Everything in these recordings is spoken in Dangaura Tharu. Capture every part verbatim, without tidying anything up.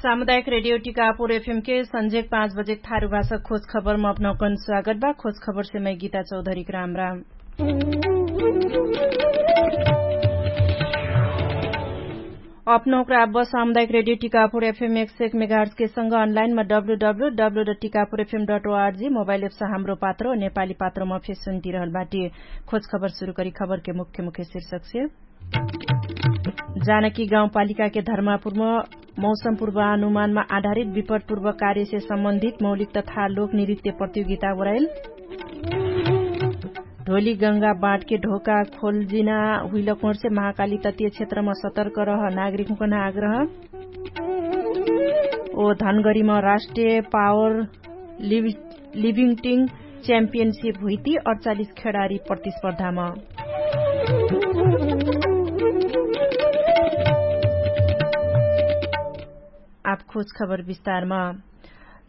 सामुदायिक रेडियो टिकापुर एफएम के सन्झेक पाँच बजेक थारु भाषा खोज खबरमा अपनौकन स्वागत बा। खोज खबरसे मै गीता चौधरीक राम राम। अपनौकरा आब्बा सामुदायिक रेडियो टिकापुर एफएम एक सय एक मेगाहर्सके संग अनलाइनमा W W W dot Tikapur FM dot ORG mobile apps Hamro Patro नेपाली पात्रोमा फेसुन्ती रहल बाटी। खोज खबर सुरु करी खबरके मुख्य मुख्य शीर्षकसे। जानकी गाउँपालिकाके धर्मापुरम मौसम पूर्वानुमानमा आधारित विपटपूर्व कार्यसे सम्बन्धित मौलिक तथा लोक नृत्य प्रतियोगिता ओराइल। ढोली गङ्गा बाँटके ढोका खोल्जिना हुइलकोर्से महाकाली ततिय क्षेत्रमा सतर्क रह नागरिकहुँकन आग्रह। ओ धनगरीमा राष्ट्रिय पावर लिभिङ्टिङ च्याम्पियनसिप हुइती अठचालिस खेडारी प्रतिस्पर्धामा। आब खोज खबर विस्तारमा।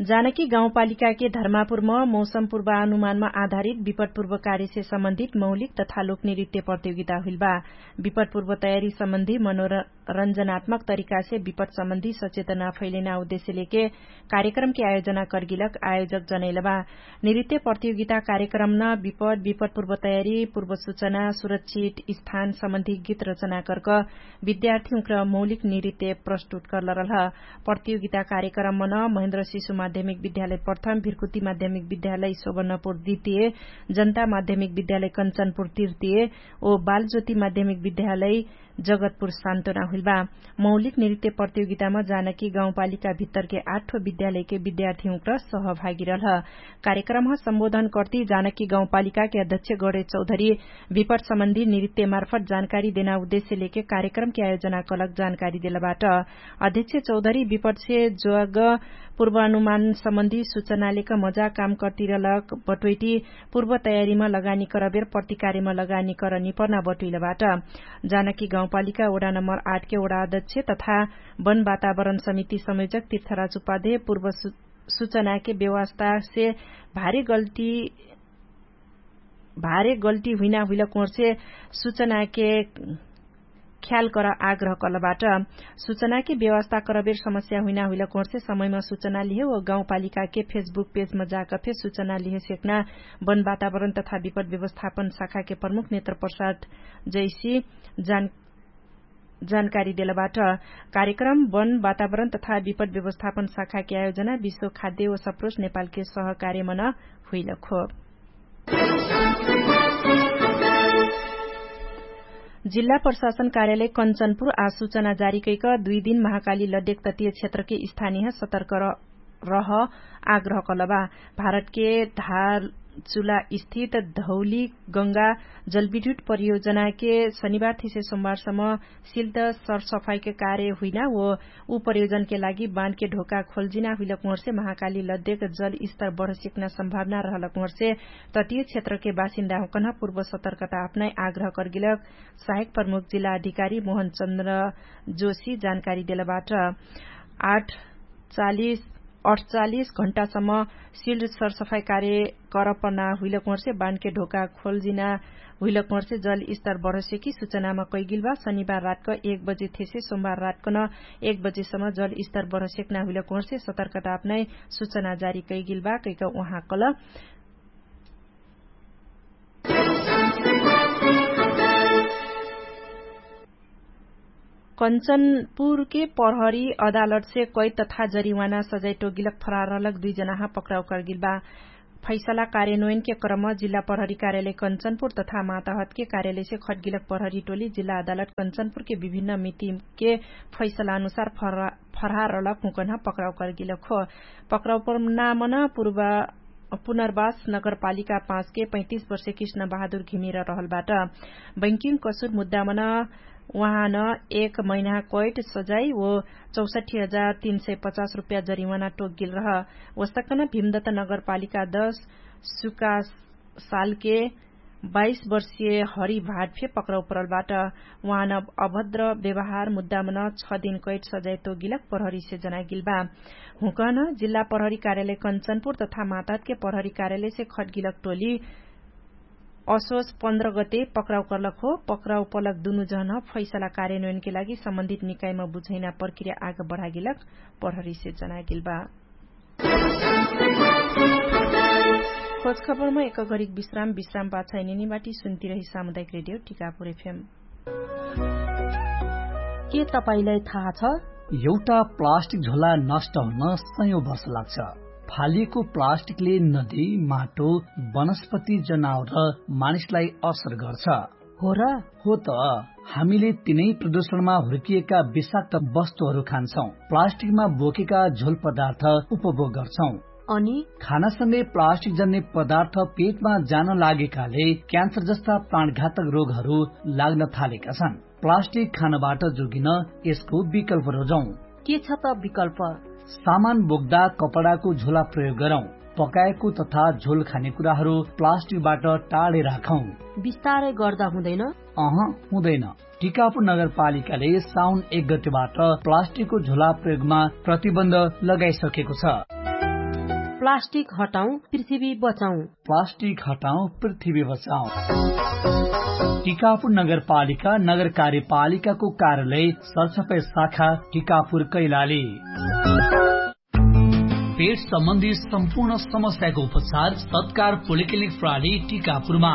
जानकी गाउँपालिकाके धर्मापुरम मौसम पूर्वानुमानमा आधारित विपटपूर्व कार्यसे सम्बन्धित मौलिक तथा लोकनृत्य प्रतियोगिता हुइलबा। विपटपूर्व तयारी सम्बन्धी मनोरञ्जनात्मक तरिकासे विपटसम्बन्धी सचेतना फैलेना उद्देश्य लेके कार्यक्रमके आयोजना कर्गिलक आयोजक जनैलबा। नृत्य प्रतियोगिता कार्यक्रमन विपट विपटपूर्व तयारी पूर्व सुचना सुरक्षित स्थान सम्बन्धी गीत रचना कर्क विद्यार्थीहुँक्र मौलिक नृत्य प्रस्तुत कर्लरलह। प्रतियोगिता कार्यक्रममन महेन्द्र शिशु माध्यमिक विद्यालय प्रथम भिर्कुति माध्यमिक विद्यालय सोबनपुर द्वितीय जनता माध्यमिक विद्यालय कन्चनपुर तृतीय ओ बालज्योति माध्यमिक विद्यालय जगतपुर सान्तोना हुइलबा। मौलिक नृत्य प्रतियोगितामा जानकी गाउँपालिका भित्तरके आठो विद्यालयके विद्यार्थीहुँक्र सहभागी रहलह। कार्यक्रमह सम्बोधन कर्ती जानकी गाउँपालिकाके अध्यक्ष गणेश चौधरी विपटसम्बन्धी नृत्यमार्फत जानकारी देना उद्देश्य लेके कार्यक्रमके आयोजना कलक जानकारी देलबाट। अध्यक्ष चौधरी विपटसे जोग पूर्वानुमानसम्बन्धी सुचनालेक मजा काम कर्तिरलक बटोइटी पूर्व तयारीमा लगानी करबेर प्रतिकारीमा लगानी करनी पर्ना बटुइलबाट। जानकी गाउँपालिका ओडा नम्बर आठके ओडा अध्यक्ष तथा वन वातावरण समिति संयोजक तीर्थराज उपाध्याय पूर्व सुचनाके व्यवस्थासे भारी गल्ती भारे गल्टी हुइना हुइलक ओर्से सुचनाके ख्याल कर आग्रह कलबाट। सुचनाके व्यवस्था करबेर समस्या हुइना हुइलक ओर्से समयमा सुचना लिहे व गाउँपालिकाके फेसबुक पेजमा जाकफे सुचना लिहे सेक्ना वन वातावरण तथा विपट व्यवस्थापन शाखाके प्रमुख नेत्र प्रसाद जैसी जानकारी देलबाट। कार्यक्रम वन वातावरण तथा विपट व्यवस्थापन शाखाके आयोजना विश्व खाद्य व सप्रोस नेपालके सहकार्यमन हुइलक हो। जिल्ला प्रशासन कार्यालय कन्चनपुर आ सुचना जारी कैक दुइ दिन महाकाली लड्डेक ततिय क्षेत्रके स्थानीय सतर्क रह आग्रह कलबा। भारतके धारचुला स्थित धौली गङ्गा जलविद्युत परियोजनाके शनिबार थिसे सोमबारसम्म सिल्द सरसफाइके कार्य हुइना व उ परियोजनके लागि बानके ढोका खोल्जिना हुइलक मोर्से महाकाली लद्देक जलस्तर बढसिक्ना सम्भावना रहलक मोर्से ततिय क्षेत्रके बासिन्दा हुँकन्ह पूर्व सतर्कता अपनाइ आग्रह कर्गिलक सहायक प्रमुख जिल्ला अधिकारी मोहन चन्द्र जोशी जानकारी देलबाट। आठ चालिस अठचालिस घण्टासम्म सिल्ड सरसफाइ कार्य करपना हुइलक मोर्से बानके ढोका खोल्जिना हुइलक मोर्से जलस्तर बढसेकी सुचनामा कैगिलबा। शनिबार रातक एक बजे थेसे सोमबार रातकन एक बजेसम्म जलस्तर बढसेक्ना हुइलक मोर्से सतर्कता अपनाइ सुचना जारी कैगिलबा कैक उहाँ कल कन्चनपुरके प्रहरी अदालतसे कैद तथा जरिवाना सजाइ टोगिलक फरार रहलक दुइ जनाहा पक्राउ करगिलबा। फैसला कार्यन्वयनके क्रम जिल्ला प्रहरी कार्यालय कन्चनपुर तथा माताहतके कार्यालयसे खटगिलक प्रहरी टोली जिल्ला अदालत कन्चनपुरके विभिन्न मितिके फैसला अनुसार फरार रहलक हुँकन्ह पक्राउ करगिलक हो। पक्राउ प्रणामन पुनर्वास नगरपालिका पाँचके पैँतिस वर्षे कृष्ण बहादुर घिमिर रहलबाट। बैंकिङ कसुर मुद्दामन उहाँ न एक महिना कैट सजाइ ओ चौसठी हजार तीन सय पचास रुपैया जरिवाना टोकगेल रह। ओस्तकन भिमदत नगरपालिका दश सुकासालके बाइस वर्षिय हरि भाट फे पक्राउ परलबाट। उहाँ न अभद्र व्यवहार मुद्दामन छ दिन कैट सजाइ तोकगेलक प्रहरीसे जनागेलबा। हुँकन जिल्ला प्रहरी कार्यालय कन्चनपुर तथा मातातके प्रहरी कार्यालयसे खटगेलक टोली असोस पन्ध्र गते पक्राउ कर्लक हो। पक्राउ पलक दुनु जहन फैसला कार्यान्वयनके लागि सम्बन्धित निकाइमा बुझैना प्रक्रिया आग बढागेलक प्रहरीसे जनागेल बा। खोजखबरमा एक घरिक विश्राम विश्राम पाछा इनेनी बाटी सुन्ती रही सामुदायिक रेडियो टिकापुर एफएम। के तपाईंलाई थाहा छ? एउटा प्लास्टिक झोला नष्ट हुन सयौं वर्ष लाग्छ। फालिएको प्लास्टिकले नदी, माटो, वनस्पति, जनावर र मानिसलाई असर गर्छ। हो र? हो त। हामीले तिनै प्रदूषणमा हुर्किएका विषाक्त वस्तुहरू खान्छौं, प्लास्टिकमा बोकेका झोल पदार्थ उपभोग गर्छौं। अनि खानासँगै प्लास्टिक जन्ने पदार्थ पेटमा जान लागेकाले क्यान्सर जस्ता प्राणघातक रोगहरू लाग्न थालेका छन्। प्लास्टिक खानबाट जोगिन यसको विकल्प रोजौं। के छ त विकल्प? सामान बोक्दा कपडाको झोला प्रयोग गरौं। पकाएको तथा झोल खाने कुराहरू प्लास्टिकबाट टाढे राखौं। बिस्तारै गर्दा हुँदैन? अह, हुँदैन। टिकापुर नगरपालिकाले साउन एक गतिबाट प्लास्टिकको झोला प्रयोगमा प्रतिबन्ध लगाइसकेको छ। प्लास्टिक हटाउँ, पृथ्वी बचाउँ। प्लास्टिक हटाउँ, पृथ्वी बचाउँ। टिकापुर नगरपालिका नगर कार्यपालिकाको कार्यालय सरसफाइ शाखा टिकापुर कैलाली। पेट सम्बन्धी सम्पूर्ण समस्याको उपचार सत्कार पोलिक्लिनिक प्राली टिकापुरमा।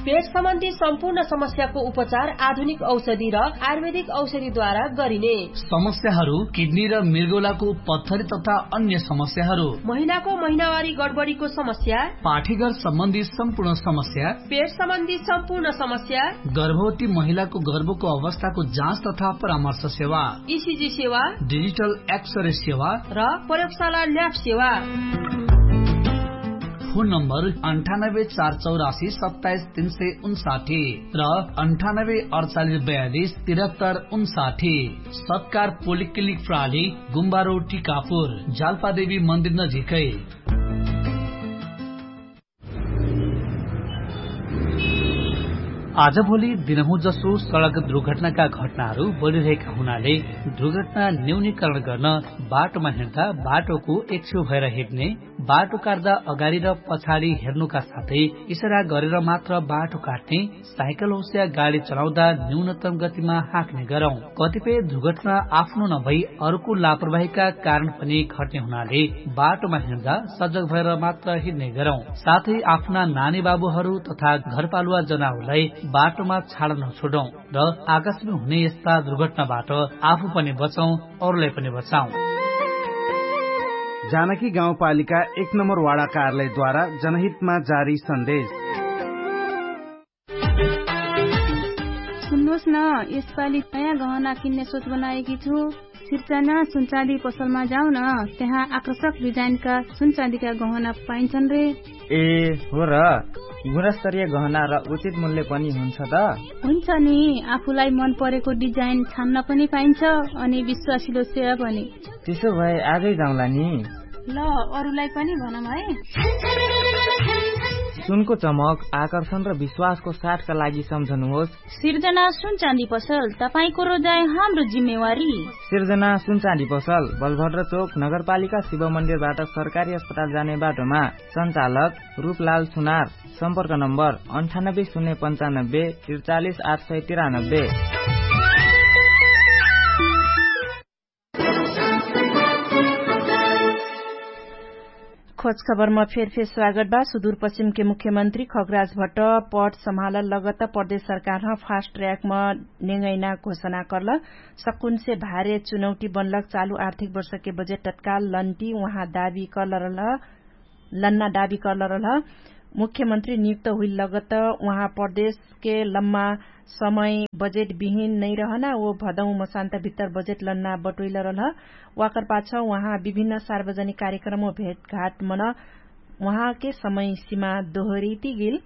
पेट सम्बन्धी सम्पूर्ण समस्याको उपचार आधुनिक औषधि र आयुर्वेदिक औषधिद्वारा गरिने। समस्याहरू किडनी र मृगौलाको पत्थरी तथा अन्य समस्याहरू, महिनाको महिनावारी गडबडीको समस्या, पाठीघर सम्बन्धी सम्पूर्ण समस्या, पेट सम्बन्धी सम्पूर्ण समस्या, गर्भवती महिलाको गर्भको अवस्थाको जाँच तथा परामर्श सेवा, इसिजी सेवा, डिजिटल एक्सरे सेवा र प्रयोगशाला ल्याब सेवा। फोन नम्बर अन्ठानब्बे चार चौरासी सत्ताइस तीन सय उन्साठी र अन्ठानब्बे अडचालिस बयालिस तिरहत्तर उन्साठी। सत्कार पोलिक्लिनिक प्राली गुम्बारो टिकापुर जालपादेवी मन्दिर नजिकै। आजभोलि दिनहुँ जसो सडक दुर्घटनाका घटनाहरू बढिरहेका हुनाले दुर्घटना न्यूनीकरण गर्न बाटोमा हिँड्दा बाटोको एकछेउ भएर हिँड्ने, बाटो काट्दा अगाडि र पछाडि हेर्नुका साथै इसरा गरेर मात्र बाटो काट्ने, साइकल होस्या गाडी चलाउँदा न्यूनतम गतिमा हाँक्ने गरौँ। कतिपय दुर्घटना आफ्नो नभई अरूको लापरवाहीका कारण पनि घट्ने हुनाले बाटोमा हिँड्दा सजग भएर मात्र हिँड्ने गरौँ। साथै आफ्ना नानी बाबुहरू तथा घरपालुवा जनावरलाई बाटोमा छाड नछोडौँ र आकाशमा हुने यस्ता दुर्घटनाबाट आफू पनि बचौँ, अरूलाई पनि बचाउँ। जानकी गाउँपालिका एक नम्बर वाडा कार्यालयद्वारा जनहितमा जारी सन्देश। सुन्नुहोस् न, यसपालि नयाँ गहना किन्ने सोच बनाएकी छु। सिर्जना सुनचाँदी पसलमा जाउँ न, त्यहाँ आकर्षक डिजाइनका सुनचाँदीका गहना पाइन्छन् रे। ए, हो र, गुणस्तरीय गहना र उचित मूल्य पनि हुन्छ त? हुन्छ नि, आफूलाई मन परेको डिजाइन छान्न पनि पाइन्छ, अनि विश्वासिलो सेवा पनि। त्यसो भए आजै जाउँला नि। ल, अरूलाई पनि भनौँ है। सुनको चमक, आकर्षण र विश्वासको साथका लागि सम्झनुहोस्। सिर्जना सुनचाँदी पसल, तपाईंको रोजाइ हाम्रो जिम्मेवारी। सिर्जना सुनचाँदी पसल, बलभद्र चोक, नगरपालिका शिव मन्दिरबाट सरकारी अस्पताल जाने बाटोमा। सञ्चालक रूपलाल सुनार। सम्पर्क नम्बर अन्ठानब्बे शून्य पन्चानब्बे त्रिचालिस आठ सय तिरानब्बे। खोजखबरमा फेरफेर स्वागत बा। सुदूरपश्चिमके मुख्यमन्त्री खगराज भट्ट पद सम्हालल लगत प्रदेश सरकारह फास्ट ट्र्याकमा नेगैना घोषणा कर्ल। सकुनसे भारे चुनौटी बनलक चालु आर्थिक वर्षके बजेट तत्काल लन्टी उहाँ दाबी कर्ल रहल। लन्ना दाबी कर्ल रहल। मुख्यमन्त्री नियुक्त हुइल लगत उहाँ प्रदेशके लम्मा समय बजेट बिहिन नैरहना ओ भदौ मसान्त भित्तर बजेट लन्ना बटोइल रहल। वाकर पाछ उहाँ विभिन्न सार्वजनिक कार्यक्रम ओ भेटघाट मन उहाँके समय सिमा दोहरिति गेल।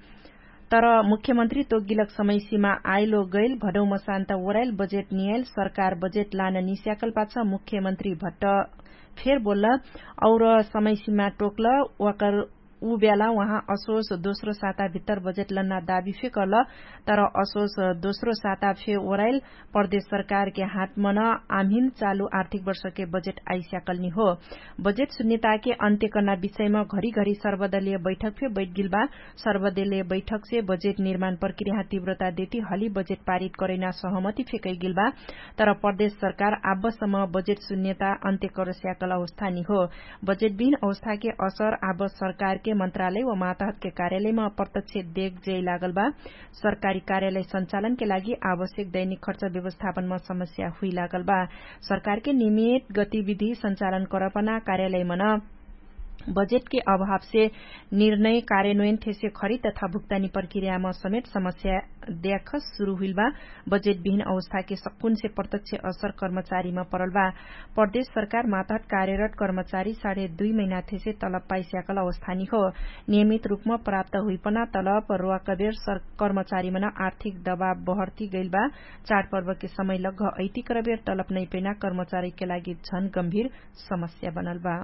तर मुख्यमन्त्री तोगिलक समय सिमा आइलो गैल भदौ मसान्त ओराइल बजेट नियाइल सरकार बजेट लान निस्याकल पाछ मुख्यमन्त्री भट्ट फेर बोल्ल। और समय सिमा टोक्ल वाकर उ ब्याला उहाँ असोस दोस्रो साता भित्तर बजेट लन्ना दाबी फे कल। तर असोस दोस्रो साता फे ओराइल प्रदेश सरकारके हातमन आम्हिन चालु आर्थिक वर्षके बजेट आइस्याकलनी हो। बजेट सुन्यताके अन्त्य कर्ना विषयम घरी घरी सर्वदलीय बैठक फे बैठगिलबा। सर्वदलीय बैठकसे बजेट निर्माण प्रक्रिया तिव्रता देती हली बजेट पारित करैना सहमति फे कैगिलबा। तर प्रदेश सरकार आब्बसम बजेट सुन्यता अन्त्य करस्याकल अवस्थानी हो। बजेट बिन अवस्थाके असर आब सरकारके मन्त्रालय व माताहतके कार्यालयमा प्रत्यक्ष देख जैलागलबा। सरकारी कार्यालय सञ्चालनके लागि आवश्यक दैनिक खर्च व्यवस्थापनमा समस्या हुइलागलबा। सरकारके निमित गतिविधि सञ्चालन करपना कार्यालयमन बजेटके अभावसे निर्णय कार्यान्वयन थेसे खरिद तथा भुक्तानी प्रक्रियामा समेत समस्या द्याख सुरु हुइलबा। बजेट बिहिन अवस्थाके सक्कुनसे प्रत्यक्ष असर कर्मचारीमा परलबा। प्रदेश सरकार मातहत कार्यरत कर्मचारी साढे दुई महिनाथेसे तलब पाइस्याकल अवस्थानी हो। नियमित रूपमा प्राप्त हुइपना तलब रोवाकबेर कर्मचारीमन आर्थिक दबाव बहर्ती गैलबा। चाडपर्वके समय लग्घ ऐतिक्रबेर तलब नैपैना कर्मचारीके लागि झन गम्भीर समस्या बनलबा।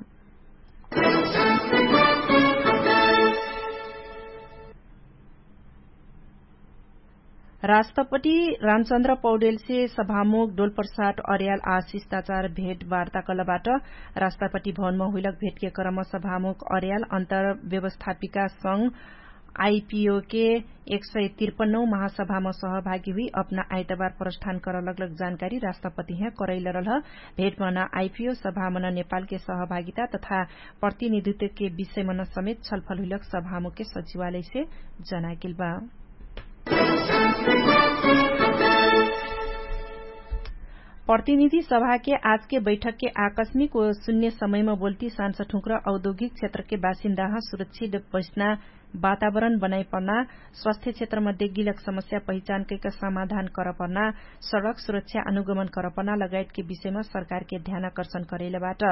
राष्ट्रपति रामचन्द्र पौडेलसे सभामुख डोलप्रसाद अर्याल आ शिष्टाचार भेट वार्ता कलबाट। राष्ट्रपति भवनमा हुइलक भेटके क्रम सभामुख अर्याल अन्तर व्यवस्थापिका संग आइपिओके एक सय तिरपन्नौ महासभामा सहभागी हुइ अपना आइतबार प्रस्थान करलगलक जानकारी राष्ट्रपतिहे करैलरलह। भेटमन आइपिओ सभामन नेपालके सहभागिता तथा प्रतिनिधित्वके विषयमन समेत छलफल हुइलक सभामुखके सचिवालयसे जनागेलबा। प्रतिनिधि सभाके आजके बैठकके आकस्मिक व सुन्य समयमा बोल्ती सान्सठुँक्र औद्योगिक क्षेत्रके बासिन्दाह सुरक्षित बस्ना वातावरण बनाइपर्ना, स्वास्थ्य क्षेत्रमा देगिलक समस्या पहिचान कैक समाधान करपर्ना, सडक सुरक्षा अनुगमन करपर्ना लगायतके विषयमा सरकारके ध्यानाकर्षण करैलबाट।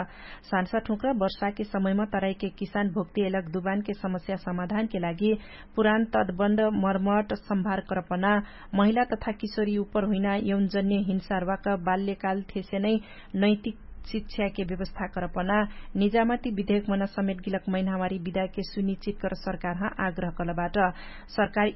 सान्सठुँक्र वर्षाके समयमा तराइके किसान भोक्तियलक दुबानके समस्या समाधानके लागि पुरान तदबन्द मर्मट सम्भार करपर्ना, महिला तथा किशोरी उपर हुइना यौनजन्य हिंसारवाक बाल्यकाल थेसे नै नैतिक शिक्षाके व्यवस्था करपना, निजामती विधेयकमन समेटगिलक मैनहमारी विधाके सुनिश्चित कर सरकारह आग्रह कलबाट। सरकार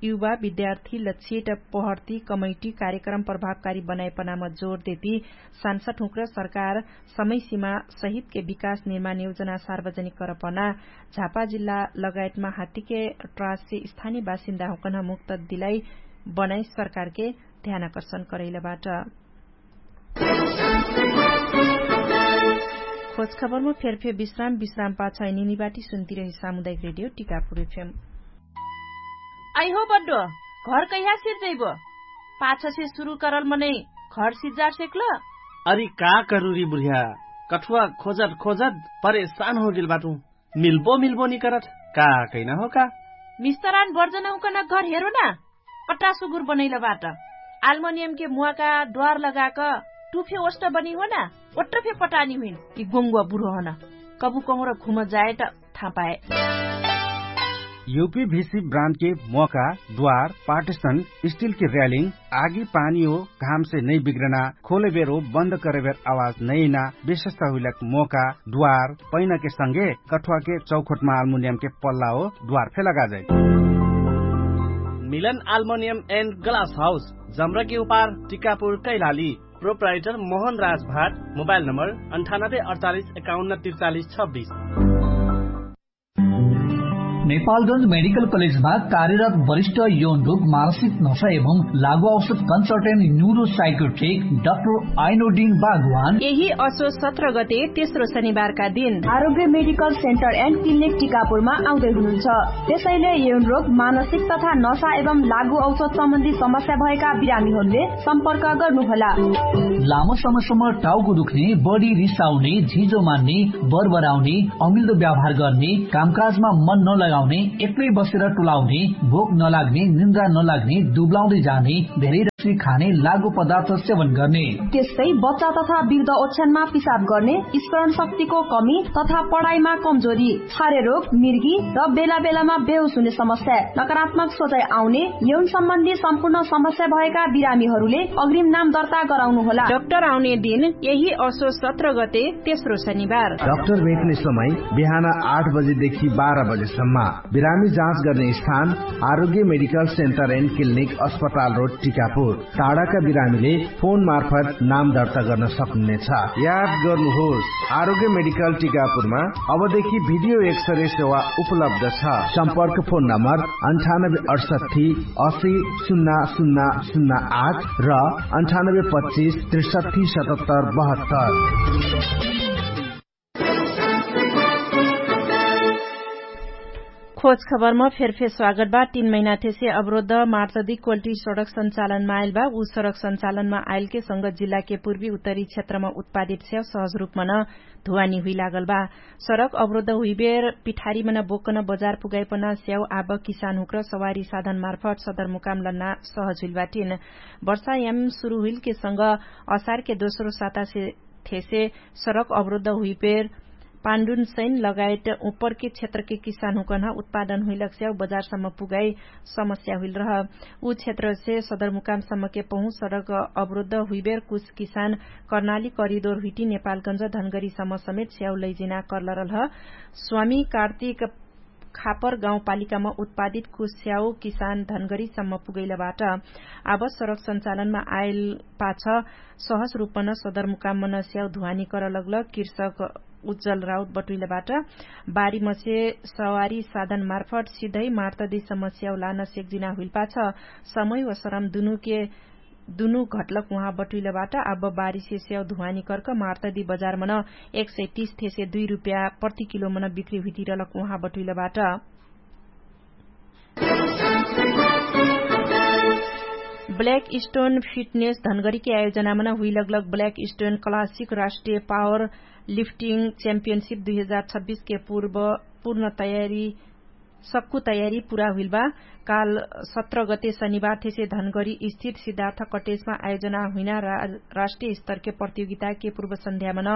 युवा विद्यार्थी लक्षित पहर्ती कमैटी कार्यक्रम प्रभावकारी बनाइपनाम जोर देती सान्सठुँक्र सरकार समयसिमा सहितके विकास निर्माण योजना सार्वजनिक करपना, झापा जिल्ला लगायतमा हात्तीके ट्राससे स्थानी बासिन्दाहुँकन मुक्त दिलाई बनाइ सरकारके ध्यानाकर्षण करैलबाट। खोजखबरमा फेरफेर विश्राम विश्राम पाछ निनिबाटी सुन्तिरहे सामुदायिक रेडियो टिकापुर एफएम। अइहो बड्डो, घर कैहा सिर्जैबो? पाछसे सुरु करल मनै घर सिर्जा सेक्ल? अरि का करुरी बुढिया, कठुवा खोजत खोजत परेशान होगेल बाटु। मिल्बो मिल्बो निकरत का कैना हो का? मिस्तरान बर्जनहुँकन घर हेरो ना। पट्टा सुगुर बनैलबाट आल्मोनियमके मुवाका द्वार लगाक टुफे ओष्ट बनी हो ना। ओट्टफे पटानी हुइन कि गोङ्गुवा बुढो हन। कबु कहुँर घुम जाएट थापाए। युपी भिसी ब्रान्डके मोका द्वार पार्टिसन स्टिलके र्यालिङ आगी पानी हो घामसे नै बिग्रना खोलेबेर हो बन्द करेबेर आवाज नैना विशेषता हुइलक मोका द्वार पैनके संगे कठुवाके चौखोटमा आल्मुनियमके पल्ला हो द्वार फे लगाजै। मिलन आल्मोनियम एन्ड ग्लास हाउस जम्रकी उपार टिकापुर कैलाली। प्रोप्राइटर मोहन राज भाट। मोबाइल नम्बर अन्ठानब्बे अडचालिस एकाउन्न त्रिचालिस छब्बिस। नेपालगंज मेडिकल कलेजमा कार्यरत वरिष्ठ यौन रोग मानसिक नशा एवं लागू औषध कन्सल्टेन्ट न्युरो साइकोट्रिक डाक्टर आइनोडिन बागवान यही असो सत्र गते तेस्रो शनिबारका दिन आरोग्य मेडिकल सेन्टर एन्ड क्लिनिक टिकापुरमा आउँदै हुनुहुन्छ। त्यसैले यौन रोग मानसिक तथा नशा एवं लागू औषध सम्बन्धी समस्या भएका बिरामीहरूले सम्पर्क गर्नुहोला। लामो समयसम्म टाउको दुख्ने, बढी रिसाउने, झिजो मान्ने, बरबराउने, अमिल्दो व्यवहार गर्ने, कामकाजमा मन नलगाउने, एक्लै बसेर टुलाउने, भोक नलाग्ने, निन्द्रा नलाग्ने, दुब्लाउँदै जाने, धेरै खाने लागु पदार्थ सेवन गर्ने। त्यस्तै बच्चा तथा वृद्ध ओछ्यानमा पिसाब गर्ने, स्मरण शक्तिको कमी तथा पढाइमा कमजोरी, छारे रोग, मिर्गी र बेला बेलामा बेहोस हुने समस्या, नकारात्मक सोचाइ आउने, यौन सम्बन्धी सम्पूर्ण समस्या भएका बिरामीहरूले अग्रिम नाम दर्ता गराउनु होला। डाक्टर आउने दिन यही असो सत्र गते, तेस्रो शनिबार। डाक्टर भेट्ने समय बिहान आठ बजेदेखि बाह्र बजेसम्म। बिरामी जाँच गर्ने स्थान आरोग्य मेडिकल सेन्टर एन्ड क्लिनिक, अस्पताल रोड, टिकापुर। टाढाका बिरामीले फोन मार्फत नाम दर्ता गर्न सक्नुहुनेछ। याद गर्नुहोस्, आरोग्य मेडिकल टिकापुरमा अबदेखि भिडियो एक्सरे सेवा उपलब्ध छ। सम्पर्क फोन नम्बर अन्ठानब्बे अठसट्ठी असी शून्य शून्य शून्य आठ र अन्ठानब्बे पच्चिस त्रिसट्ठी सतहत्तर बहत्तर। खोज खबरमा फेरफेर स्वागत बा। तीन महिना थेसे अवरोध मार्चदी कोल्टी सडक सञ्चालनमा आइल बा। उ सडक सञ्चालनमा आइलके संग जिल्लाके पूर्वी उत्तरी क्षेत्रमा उत्पादित स्याउ सहज रूपमन धुवानी हुइलागल बा। सडक अवरोध हुइबेर पिठारीमन बोक्कन बजार पुगाइपन स्याउ आब किसानहुँक्र सवारी साधन मार्फत सदरमुकाम लन्ना सहज हुइल बाटिन। वर्षायाम सुरु हुइलके संग असारके दोस्रो सातासे थेसे सडक अवरोध हुइपेर पाण्डुन सैन लगायत उपरके क्षेत्रके किसानहुँकन्ह उत्पादन हुइलक स्याउ बजारसम्म पुगाइ समस्या हुइल रह। उ क्षेत्रसे सदरमुकामसम्मके पहुँ सडक अवरोध हुइबेर कुछ किसान कर्नाली करिदोर हुइटी नेपालगन्ज धनगरीसम्म समेत स्याउ लैजिना कर्लरलह। स्वामी कार्तिक खापर गाउँपालिकामा उत्पादित कुस्याउ किसान धनगरीसम्म पुगैलबाट आब सडक सञ्चालनमा आइल पाछ सहज रूपन सदरमुकामन स्याउ धुवानी करलग्ल कृषक उज्जल राउत बटुइलबाट बारीमसे सवारी साधन मार्फट सिधै मार्तदी समस्याउ लान सेक्जिना हुइलपाछ समय व सरम दुनुके दुनु घटलक उहाँ बटुइलबाट आब बारिसे स्याउ धुवानी कर्क मार्तदी बजारमन एक सय तीस थेसे दुई रुप्या प्रति किलोमन बिक्री हुइतिरलक उहाँ बटुइलबाट। ब्ल्याक स्टोन फिटनेस धनगरीके आयोजनामन हुइलगलग ब्ल्याक स्टोन क्लासिक राष्ट्रिय पावर लिफ्टिङ च्याम्पियनसिप दुई हजार छब्बिसके पूर्व पूर्ण तयारी सक्कु तयारी पुरा हुइलबा। काल सत्र गते शनिबार थेसे धनगरी स्थित सिद्धार्थ कटेजमा आयोजना हुइना राष्ट्रिय स्तरके प्रतियोगिताके पूर्व सन्ध्यामन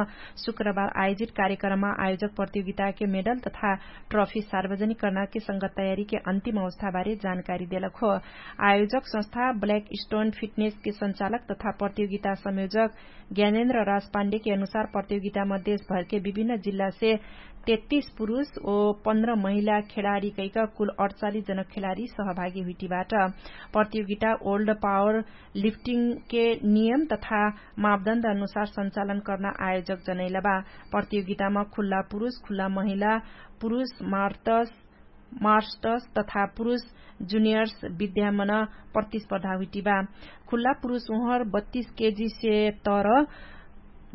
शुक्रबार आयोजित कार्यक्रममा आयोजक प्रतियोगिताके मेडल तथा ट्रफी सार्वजनिक कर्नाके संगत तयारीके अन्तिम अवस्थाबारे जानकारी देलक हो। आयोजक संस्था ब्ल्याक स्टोन फिटनेसके सञ्चालक तथा प्रतियोगिता संयोजक ज्ञानेन्द्र राजपाण्डेके अनुसार प्रतियोगितामा देशभरके विभिन्न जिल्लासे तेत्तीस पुरुष ओ पन्ध्र महिला खेलाडी कैक कुल अठचालिस जन खेलाडी सहभागी हुइटिबाट। प्रतियोगिता ओल्ड पावर लिफ्टिङके नियम तथा मापदण्ड अनुसार सञ्चालन कर्ना आयोजक जनैलबा। प्रतियोगितामा खुल्ला पुरुष खुल्ला महिला पुरुष मार्तस मार्स्टस तथा पुरुष जुनियर्स विद्यामन प्रतिस्पर्धा हुइटिबा। खुल्ला पुरुष उहर बत्तीस केजी से तर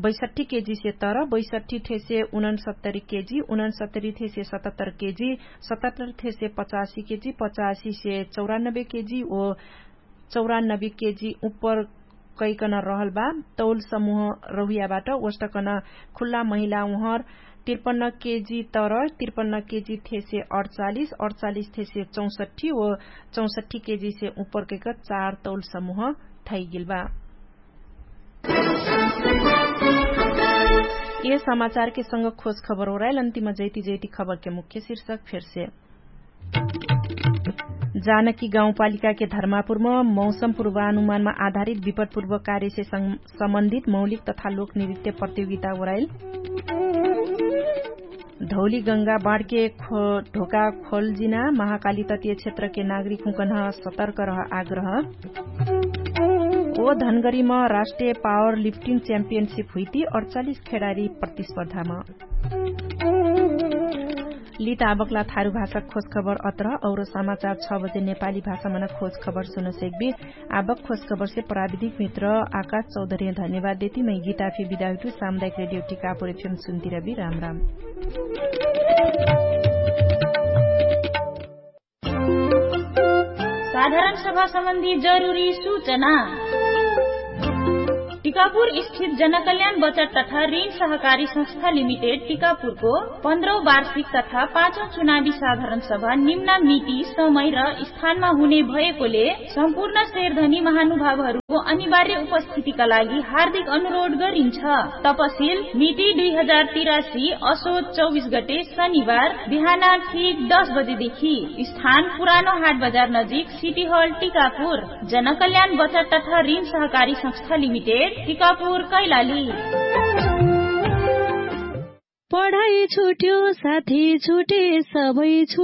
बैसठ्ठी केजी से तर बैसठ्ठी थेसे उनन्सत्तरी केजी उनन्सत्तरी थेसे सतहत्तर केजी सतहत्तर थेसे पचासी केजी पचासी से चौरानब्बे केजी ओ चौरानब्बे केजी उप्पर कैकन रहल बा। तौल समुह रहुयाबाट ओष्टकन खुल्ला महिला उहर त्रिपन्न केजी तर त्रिपन्न केजी थेसे अडचालिस अडचालिस थेसे चौसट्ठी ओ चौसट्ठी केजी से उप्पर कैक चार तौल समुह थैगेल बा। ए समाचारके संग खोज खबर ओराइल अन्तिम जैती जैती खबरके मुख्य शीर्षक फेरसे। जानकी गाउँपालिकाके धर्मापुरमा मौसम पूर्वानुमानमा आधारित विपदपूर्व कार्यसे सम्बन्धित मौलिक तथा लोकनृत्य प्रतियोगिता ओराइल। धौली गङ्गा बाँडके ढोका खोलजिना महाकाली तत्य क्षेत्रके नागरिक हुँकन्ह सतर्क रह आग्रह। ओ धनगरीमा राष्ट्रिय पावर लिफ्टिङ च्याम्पियनसिप हुइती अडचालिस खेडारी प्रतिस्पर्धामा। लित आबकला थारु भाषा खोज खबर अत्र औरो समाचार छ बजे नेपाली भाषामन खोज खबर सुन सेक्बी। आबक खोज खबरसे प्राविधिक मित्र आकाश चौधरी धन्यवाद देती मै गीताफी बिदाउटु सामुदायिक रेडियो टिकापुर एफएम सुन्तिरबी राम राम। साधारण सभा सम्बन्धी जरुरी सूचना। टिकापुर स्थित जनकल्याण बचत तथा ऋण सहकारी संस्था लिमिटेड टिकापुरको पन्ध्रौं वार्षिक तथा पाँचौं चुनावी साधारण सभा निम्न मिति समय र स्थानमा हुने भएकोले सम्पूर्ण शेरधनी महानुभावहरू अनिवार्य उपस्थितिका लागि हार्दिक अनुरोध गरिन्छ। तपसिल मिति दुई हजार तिरासी असोच चौबिस गते शनिबार बिहान ठिक दस बजेदेखि। स्थान पुरानो हाट बजार नजिक सिटी हल टिकापुर। जनकल्याण बचत तथा ऋण सहकारी संस्था लिमिटेड टिकापुर कैलाली। पढाइ छुट्यो साथी छुटे सबै